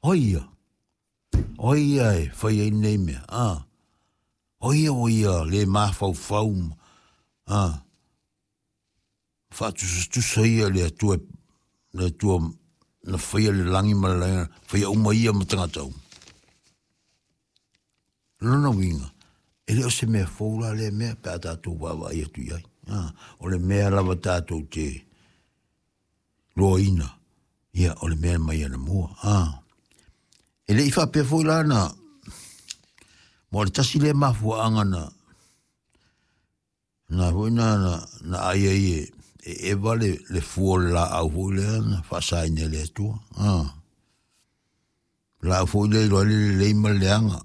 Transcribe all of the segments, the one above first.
O ai ia? O ai ia e fai ai lenei mea? A. O ai ia ua ia le mafaufau ma, a, faatusatusa ia le Atua, le Atua na faia le lagi ma le laina, faia uma ia ma tagata uma. Lona uiga, e le o se mea fou la lea mea pe a tatou vaavaai atu i ai. A, o le mea lava tatou te loaina, ia, o le mea mai anamua. A, e le i faapea foi la na, mo le tasi lea mafuaaga na, na foi na, na, na ai ai e, e Eva le, le fua o le laau foi lea na faasaina e le Atua. A, laau foi lea iloa ai le lelei ma le leaga.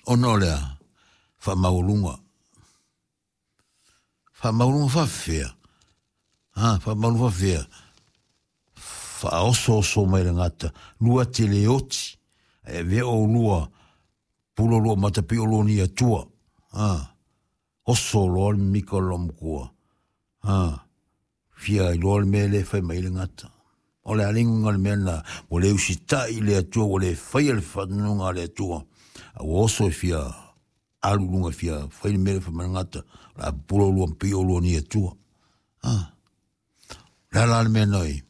Ona o le a? Faamaualuga. Faamaualuga faafefea? A, faamaualuga faafefea? Faaosooso mai le gata, lua te le oti, ae avea oulua pula lua mata pei o lua ni Atua. A, oso loa le mimika o le loomatua. A, fia iloa le mea lea e fai mai ai le gata. O le a le uiga o le mea lena, ua le usitai i le Atua, ua le faia le faatonuga a le Atua, a ua oso e fia alu i luga e fia fai le mea lea e fai mai le gata, o le a pupula oulua ma pei oulua ni Atua. A, o le a la le mea na i,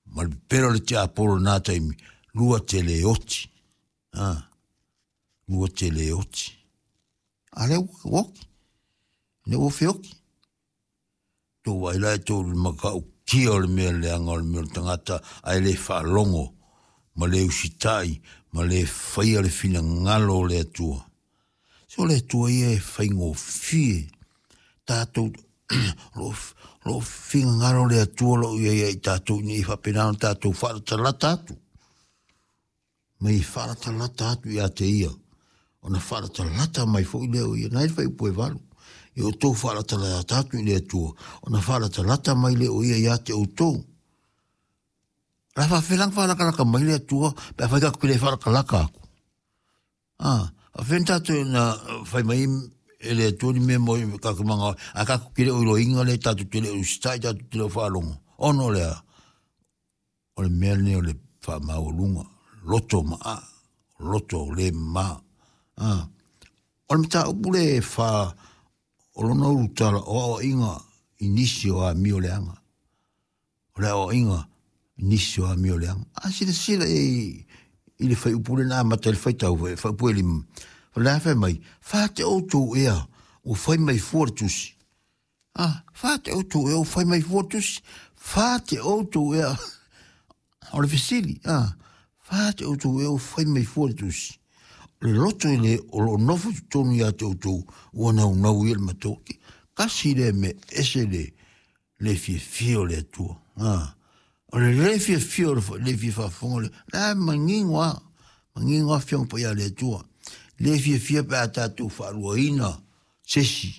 ma le pepelo o le tiapolo i lena taimi, lua te le oti. A, lua te le oti. A lea ua oti. Lea ua feoti. Tou vaai la e tou i le matautia o le mea leaga o le mea o le tagata ae le faalogo ma le usitai ma le faia le finagalo o le Atua. Se o le Atua ia e faigofie tatou o lo o finagalo le Atua o lo o i ai ia i tatou ina ia faapena ona tatou faalatalata atu. Ma i faalatalata atu ia te ia, ona faalatalata mai foi lea o ia. Na e le fuaiupu e 8. Ia outou faalatalata atu i le Atua, ona faalatalata mai lea o ia ia te outou. O le a faafefea la ona faalatalata mai le Atua pe afai tatou te le faalatalata atu? A, faafefea ona tatou na fai mai e le Atua ni mea mo tatou manao, ae tatou te le o iloaina lea, tatou te le o usitai, tatou te le o faalogo. Ona o le a? O le mea lenei o le faamaualuga, loto maa, loto le mama. A, o le mataupu lea e fa o lona ulutala o aoaiga i nisi o amio leaga. O le aoaiga i nisi o amio leaga. A silasila i i le fuaiupu lea na amata ai le faitau, fuaiupu e 5, o le a fai mai, fa te outou ea ua fai mai fua le tusi. A, fa te outou ea ua fai mai fua le tusi. Fa te outou ea, o le fesili, a, fa te outou ea ua fai mai fua le tusi. O le loto i le o lo o nofo i totonu ia te outou, ua naunau ia le matou. Tasi lea mea ese le, le fiafia o le Atua. A, o le le fiafia o le le fia faafofoga le, la e manino lava, manino lava Afioga Paia a le Atua. Le fiafia pe a tatou faaluaina se isi,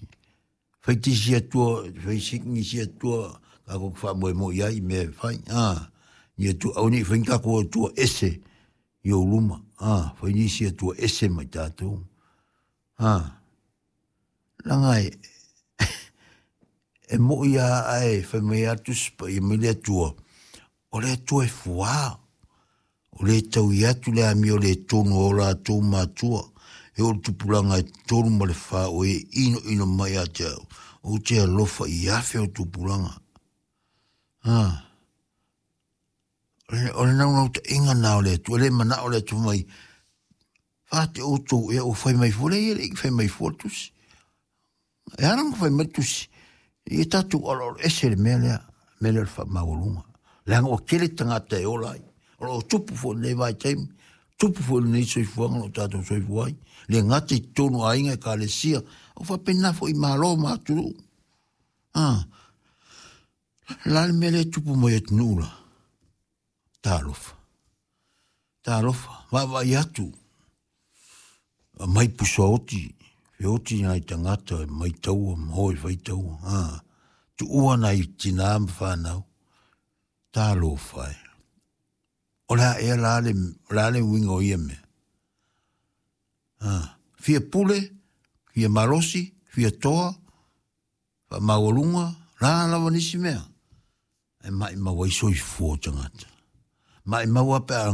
fai te isi Atua, fai se nisi Atua tatou te faamoemoe i ai i mea e fai. A, ni Atua, aua ne i fai ni tatou Atua ese i ou luma. A, fai nisi Atua ese mai tatou. A, leaga e, e moi lava ae fai mai lava le Tusi Paia mai le Atua, o le Atua e fuā, o le taui atu le amio le tonu a o latou matua, e oo i le tupulaga e 3 ma le 4 o e inoino mai ia te au, ou te alofa i afe o tupulaga. A, o le naunautaiga lena o le Atua, e le manao le Atua mai, fa te outou ea ua fai mai fua, leai e le i fai mai fua le tusi. E ala ona fai mai le tusi, ia tatou aloalo ese le mea lea, mea lea o le faamaualuga. Leaga ua tele tagata e ola ai. O lo o tupu foi i lenei vaitaimi, tupu foi i lenei soifuaga o lo o tatou soifua ai. Le gata i totonu o aiga, ekalesia, o faapena foi i Malo ma atunuu. Ah, la le mea lea e tupu mai atunuu la. Talofa. Talofa, vaavaai atu, aumai pusaoti, feoti nai tagata e mai taua ma o e fai taua. Ah, tuua nai tinā ma fanau. Talofa e. O le a ea la le, o le a le uiga o ia mea? Ah, fia pule, fia malosi, fia toa, faamaualuga, la lava nisi mea. E maimau ai soifua o tagata. Maimau lava pe a